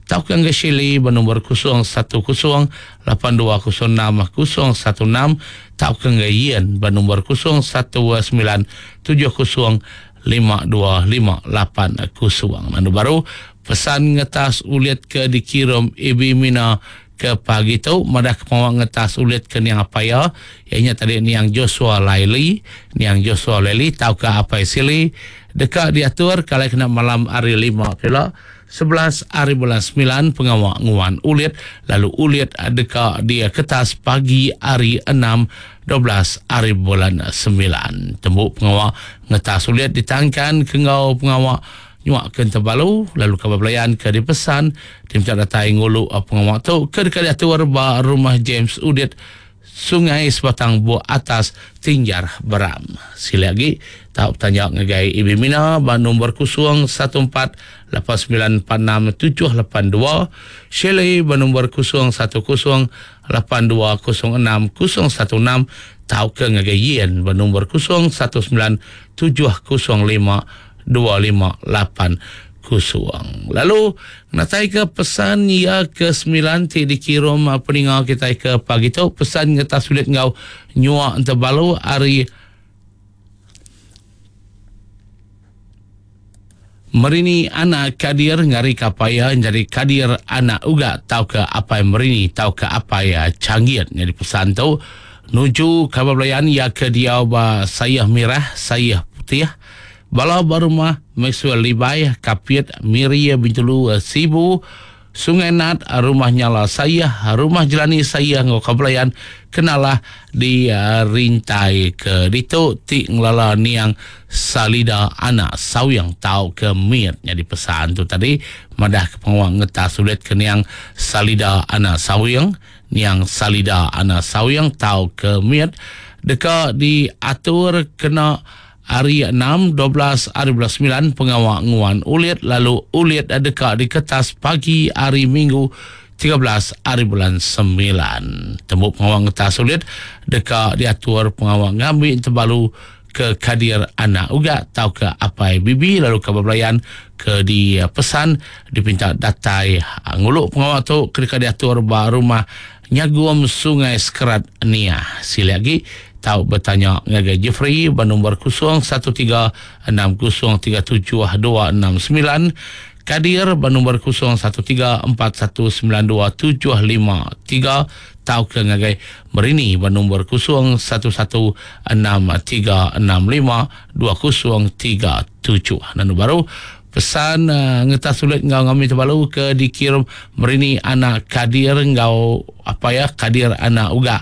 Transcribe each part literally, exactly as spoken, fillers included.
tauka ngagai Shirley ba nombor kosong satu kosong lapan dua kosong enam kosong satu enam tauka ngagai Ian ba nombor kosong satu sembilan tujuh kosong lima dua lima lapan kosong. Lalu baru pesan ngetas ulit ke dikirim Ibi Mina ke pagi tu madah ke pengawa ngetas ulit ke niang apa ya ianya tadi niang Joshua Laili, niang Joshua Laili tauka Apai Sili deka diatur kalai kena malam hari lima pula sebelas hari bulan sembilan pengawa nguan ulit lalu ulit deka dia ketas pagi hari enam dua belas hari bulan sembilan. Tembuk pengawa ngetas ulit ditangkan ke ngau pengawa nyuak ke terbalu lalu kabar belayan ke dipesan tim tak datai ngulu pengawa tu ke dekat diatur ba rumah James Udit Sungai Sebatang Buah Atas Tinjar Beram. Sila lagi tak bertanya ngagai Ibi Mina ba nombor kosong satu empat lapan sembilan empat enam tujuh lapan dua, Shirley ba nombor kosong satu kosong lapan dua kosong enam kosong satu enam tauka ngagai Yen ba nombor kosong satu sembilan tujuh kosong lima dua lima lapan kosong. Lalu natai ke pesan ia ke sembilan ti dikirim peninga kita ke pagi tu pesan ngetas sulit ngau nyuak terbalu hari Merini anak Kadir ngari kapaya jadi Kadir anak uga tau ke apai Merini tau ke apai canggit. Jadi pesan tu nuju kabar belayan ia ke diau ba sayah merah sayah putih bala barumah Maxwell Libai Kapit Miri Bintulu Sibu Sungai Nat rumah nyala saya rumah jelani saya ngau kabelayan kenalah di uh, rintai ke ditu ti ngelala niang Salida anak sawyang tau ke miat. Jadi pesan tu tadi madah ke pengawang ngetas sulit ke niang Salida anak sawyang niang Salida anak sawyang tau ke miat deka diatur kena hari enam dua belas hari bulan sembilan pengawak nguan ulit lalu ulit deka di kertas pagi hari Minggu tiga belas hari bulan sembilan. Tembuk pengawak ngetas ulit deka diatur pengawak ngambil terbalu ke Kadir anak uga tau ke apai bibi lalu ke belayan ke di pesan dipinta datai nguluk pengawak tu ke diatur ba rumah Nyagum Sungai Sekerat Nia. Sila lagi tau bertanya ngagai Jeffrey ba nombor kosong satu tiga enam kosong tiga tujuh dua enam sembilan, Kadir ba nombor kosong satu tiga empat satu sembilan dua tujuh lima tiga, tau ke ngagai Merini ba nombor kosong satu satu enam tiga enam lima dua kosong tiga tujuh. Nanu baru pesan uh, ngetas sulit ngau ngami terbalu ke dikirim Merini anak Kadir ngau apa ya Kadir anak uga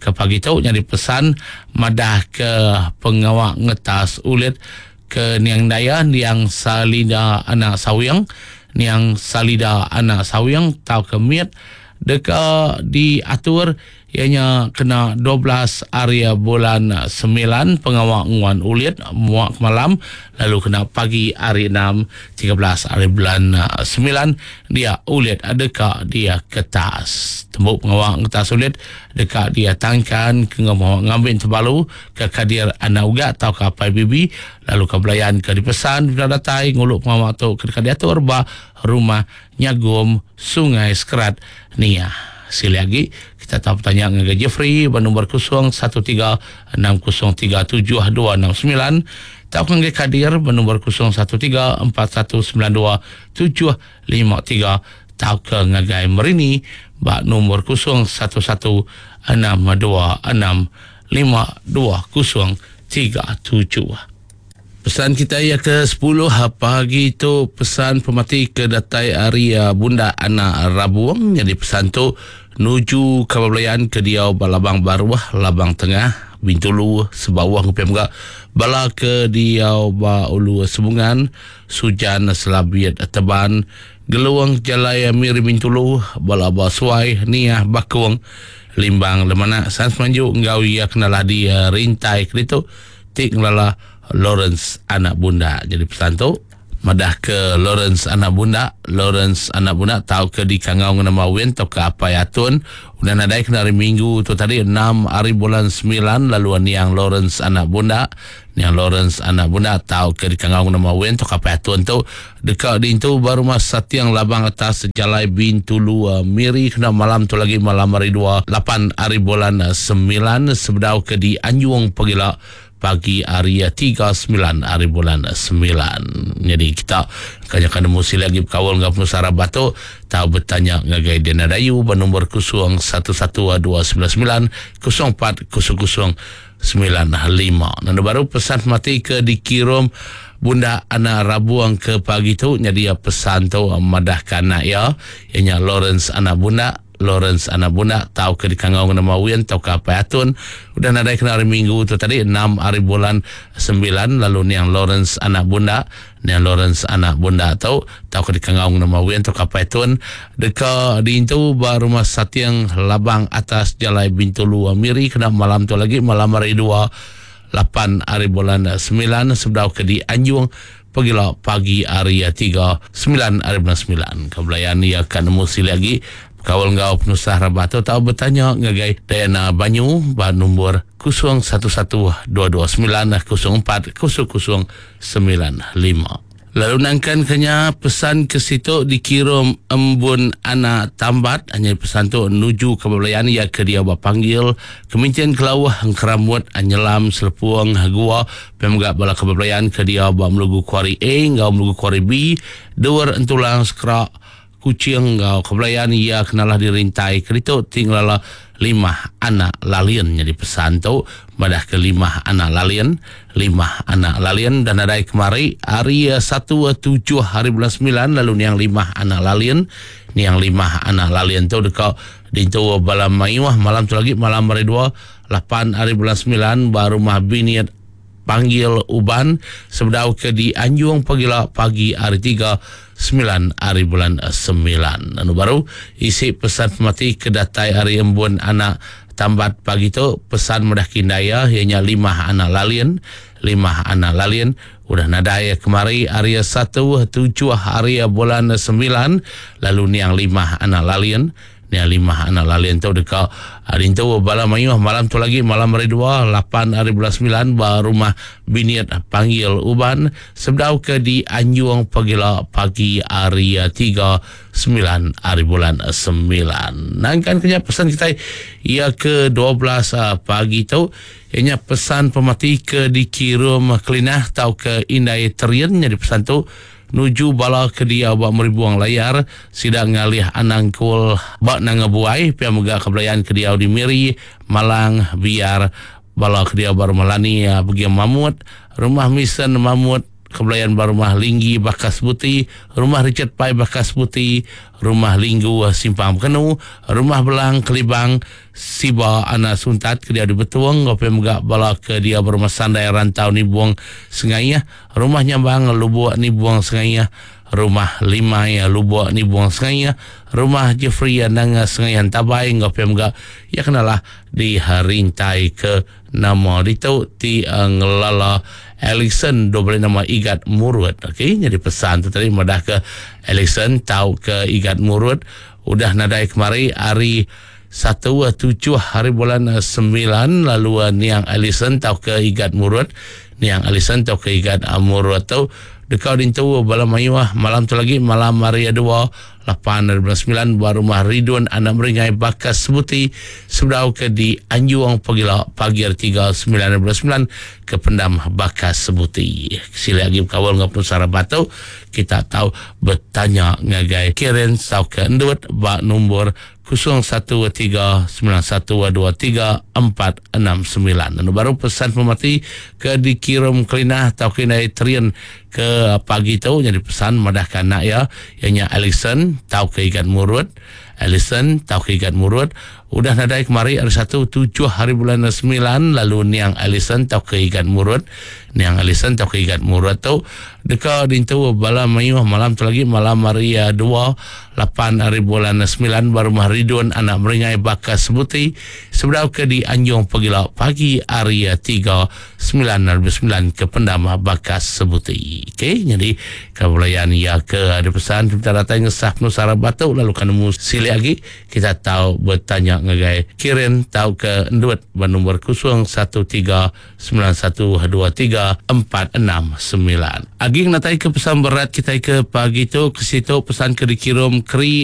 ke pagi tu nyari pesan madah ke pengawak ngetas ulit ke niang daya niang Salida anak sawyang niang Salida anak sawyang tau ke miat deka diatur ianya kena dua belas hari bulan sembilan pengawak nguan ulit muak malam lalu kena pagi hari enam tiga belas hari bulan sembilan dia ulit deka dia kertas tembuk pengawak ngetas ulit deka dia tangkan ke ngambil terbalu ke Kadir anak uga atau ke apai bibi lalu ke belayan ke dipesan bila datai nguluk pengawak tu ke deka diatur ba rumah Nyagum Sungai Sekerat Nia. Sila lagi kita tahu bertanya dengan Jeffrey bernombor kosong satu tiga enam kosong tiga tujuh dua enam sembilan, tahu dengan Kadir bernombor kosong satu tiga empat satu sembilan dua tujuh lima tiga, tahu ke ngagai Merini bak nombor kosong satu satu enam dua enam lima dua kosong tiga tujuh. Pesan kita yang ke sepuluh pagi tu pesan pemati ke datai hari Bunda Anak Rabuang. Jadi pesan tu nuju kabablayan ke diau Balabang Baruah, Labang Tengah, Bintulu, Sebawah ngupiam ga bala ke diau ba Ulu Sebungan, Sujan Selabiat Teban, Geluang Jalai Miri Bintulu, bala ba Suai, Niah Bakung, Limbang Lemanak, San Semanju ngau ia kenalah di rintai ke ditu tik ngelala Lawrence anak bunda. Jadi pesan tu Madah ke Lawrence anak bunda, Lawrence anak bunda tau ke di Kangau nama Win tau ke Apai Atun. Udah nadai kena hari Minggu tu tadi enam hari bulan sembilan lalu niang Lawrence anak bunda, niang Lawrence anak bunda tau ke di Kangau nama Win tau ke Apai Atun tu dekat di itu baru mas Satiang Labang atas Jalai Bintulu uh, Miri kena malam tu lagi malam hari dua lapan hari bulan sembilan sebedau ke di Anjung Pegila pagi hari tiga sembilan hari bulan sembilan. Jadi kita kanya nemu sila lagi berkawal dengan penusara batu tahu bertanya ngagai Dana Dayu bernombor kosong satu satu dua sembilan sembilan kosong empat kosong kosong sembilan lima. Dan baru pesan mati ke dikirim Bunda anak Rabuang ke pagi tu jadi pesan tu madahkan anak ya ianya Lawrence anak Bunda, Lawrence anak Bunda tahu ke di Kangau nama Win tahu ke Apai Atun udah nadai kena hari Minggu tu tadi enam hari bulan sembilan lalu niang Lawrence anak Bunda, niang Lawrence anak Bunda tu tahu ke di Kangau nama Win tahu ke Apai Atun deka di itu baru rumah Satiang Labang atas Jalai Bintulu Miri kena malam tu lagi malam hari dua lapan hari bulan sembilan sebedau ke di Anjung pergilah pagi hari tiga sembilan hari bulan sembilan. Kebelayan ia akan nemu sili lagi kawal ngau penusah rabatu tahu bertanya ngagai Diana Banyu ba nombor kosong satu satu dua dua sembilan kosong empat kosong kosong sembilan lima. Lalu nangkan kenya pesan ke situ dikirim embun anak tambat hanya pesan tu nuju ke belayan ia ke dia panggil kementerian kelauh keramut anyelam selepuang gua pemgak bala kebelayan ke dia ba melugu kuari A ngau melugu kuari B dua entulang sekerak kucing ngau kebelayan ia kenalah dirintai kerito tinggallah lima anak lalian jadi pesan tu madah ke lima anak lalian lima anak lalian dan adai kemari hari satu tujuh hari bulan sembilan lalu niang lima anak lalian niang lima anak lalian tu dekat di tu bala mayuah malam tu lagi malam hari dua lapan hari bulan sembilan baru mah biniat panggil uban sebedau ke di Anjung pagila pagi hari tiga sembilan hari bulan sembilan. Anu baru isi pesan pemati ke datai hari embun anak tambat pagi tu pesan mudah kindaya ianya lima anak lalian lima anak lalian udah nadai kemari hari satu tujuh hari bulan sembilan lalu niang lima anak lalian niang lima anak lalian tu dekat hari tu bala mayuh malam tu lagi malam hari dua lapan hari bulan sembilan baru rumah biniat panggil uban sebedau ke di Anjung pagila pagi hari tiga sembilan hari bulan sembilan. Nangkan kenya pesan kita ia ke dua belas pagi tu ianya pesan pemati ke dikirim kelinah tau ke Indai Terian jadi pesan tu nuju bala ke dia bak meribuang layar sidang ngalih anangkul bak nangabuai pia mega kebelayan ke dia di Miri Malang biar bala ke dia baru melani pergi Mamut rumah Misen Mamut kebelayan baru rumah Linggi Bakas Buti rumah Richard Pai Bakas Buti rumah Linggu Simpang Kenu rumah Belang Kelibang Siba anak Suntat ke dia di Betuang ngopi mega bala ke dia berumah Sandai Rantau Nibuang Sengayah rumah Nyambang Lubuk Nibuang Sengayah rumah Limai Lubuk Nibuang Sengayah rumah Jeffrey Nanga Sengayan Tabai ngopi mega ya kenalah di rintai ke nama itu ti uh, ngelala Ellison dua nama Igat Murut. Okey, jadi pesan tu tadi madah ke Ellison tahu ke Igat Murut udah nadai kemari hari satu tujuh hari bulan sembilan lalu niang Ellison tahu ke Igat Murut niang Ellison tahu ke Igat Murut tu dekat dintu bala mayuah malam tu lagi malam hari dua lapan hari bulan sembilan baru rumah Ridwan anak Meringai Bakas Sebuti sebedau ke di Anjuang pagila pagi hari tiga sembilan hari bulan sembilan ke pendam Bakas Sebuti. Sila lagi kawal ngau penusara batu kita tahu bertanya ngagai Karen tau ke Endut bak nombor kosong satu tiga sembilan satu dua tiga empat enam sembilan. Dan baru pesan pemati ke dikirim kelinah tau ke naik trian ke pagi tu jadi pesan madahkan anak ya ianya Ellison tau ke Igat Murut Ellison tau ke Igat Murut udah nadai kemari hari satu tujuh hari bulan semilan lalu niang Ellison tau ke Igat Murut niang Ellison tau ke Igat Murut tu deka dintu bala mayuh malam tu lagi malam hari dua lapan hari bulan semilan baru rumah Ridun anak Meringai Bakas Sebuti sebedau ke di Anjung Pegila pagi hari tiga sembilan hari sembilan ke Pendam Bakas Sebuti. Okey, jadi kebelayan ya ke ada pesan kita datang ngesah penuh sarap batuk lalu kan nemu silik lagi kita tahu bertanya ngagai Kirin tahu ke endut bernombor kosong satu tiga sembilan satu dua tiga empat enam sembilan. Agi natai ke pesan berat kita ke pagi tu ke situ pesan ke dikirim keri